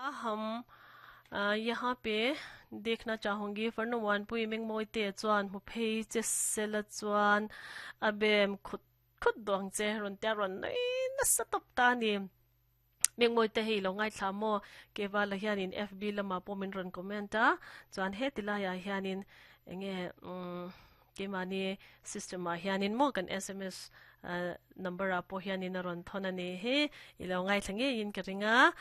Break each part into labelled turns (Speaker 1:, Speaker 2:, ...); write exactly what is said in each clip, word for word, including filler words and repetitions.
Speaker 1: हम यहाँ पे देखना चाहूंगी farnu pui meng moi te chuan mu phei che sela chuan abem khut khut dong che ron te ron nei na satop ta ni meng moi te hei lo ngai thla mo ke wala hianin F B lama pomin ron comment a chuan he tilaya hianin enge um ke mani system a hianin mo kan S M S number a po hianin a ron thona ni he ilo ngai thlange in ka ringa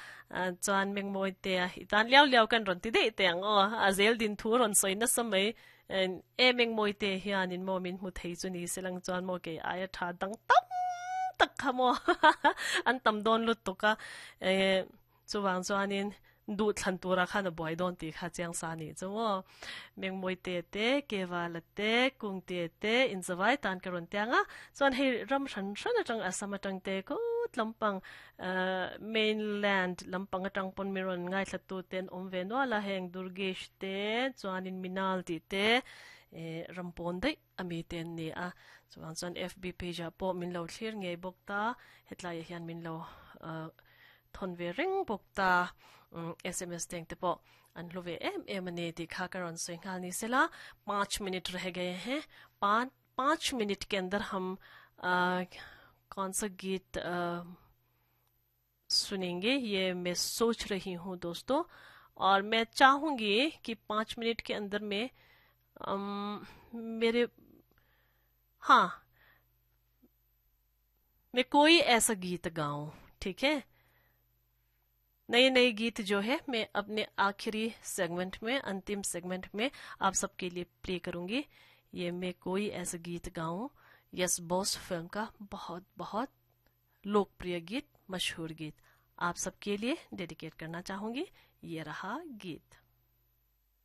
Speaker 1: chuan meng moi te itan liao liao kan ron ti dei te ang o a zel din thu ron soina samai e meng moi te hianin mo min mu thei chu ni selang chuan mo ke aya tha dang tam tak khamo an tam don lut toka e chuwang chuanin du thlan tura khan a boy don ti kha chiang sa ni chuo meng moi te te kewala te kung te te in zawai tan karon tianga chuan hei ram hran hran atang asam atang te ko lampang mainland lampang atang pon miron ngai thlatu ten om ve no la heng Durgesh te chuanin Minal ti te e rampon dei ami ten ni a chuan chuan F B page a po min lo thlir ngei bok ta hetlai hian min lo thon ve ring bok ta S M S teng te po an hlove em em ani ti kha karon singhal ni sela पाँच मिनट रह गए हैं। पाँच पाँच मिनट के अंदर हम आ, कौन सा गीत आ, सुनेंगे ये मैं सोच रही हूँ दोस्तों, और मैं चाहूँगी कि पाँच मिनट के अंदर में अम, मेरे हाँ मैं कोई ऐसा गीत गाऊं, ठीक है। नए नए गीत जो है मैं अपने आखिरी सेगमेंट में, अंतिम सेगमेंट में आप सबके लिए प्ले करूंगी। ये मैं कोई ऐसा गीत गाऊं, yes boss film का बहुत बहुत लोकप्रिय गीत, मशहूर गीत आप सबके लिए डेडिकेट करना चाहूंगी। ये रहा गीत।